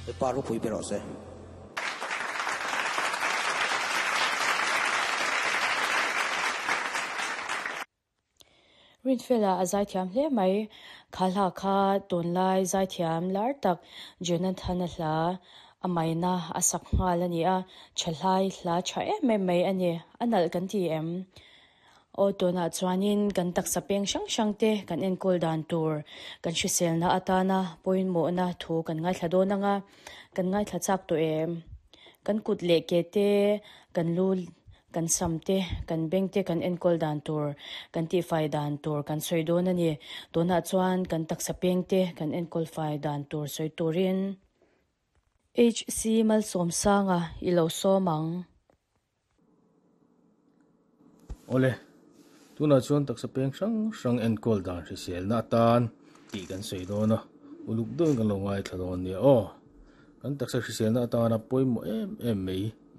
Lalpa ropui ber rawh se. Rinfela a zaithiam hle mai. Kha hla kha tunlai zaithiam lar tak Jonathan-a hla a maina a sak nghal a ni a, thahlai hla tha em em mai a ni. A nalh kan ti em? Aw tunah chuanin kan taksa peng hrang hrang te kan enkawl dan tur kan hriselna atana pawimawhna thu kan ngaithla dawn ang a, kan ngaithla chak tawh em? Kan kut leh ke te, kan lu, kan sam te, kan beng te kan enkawl dan tur, kan tihfai dan tur kan sawi dawn a ni. Tunah chuan kan taksa peng te kan enkawl fai dan tur sawi turin HC Malsawmsanga i lo sawm ang. Awle, tunah chuan taksa peng hrang hrang enkawl dan hriselna atan tih kan sawi dawn a, uluk deuhin kan lo ngaithla dawn nia aw. Kan taksa hriselna atana pawimawh em em mai.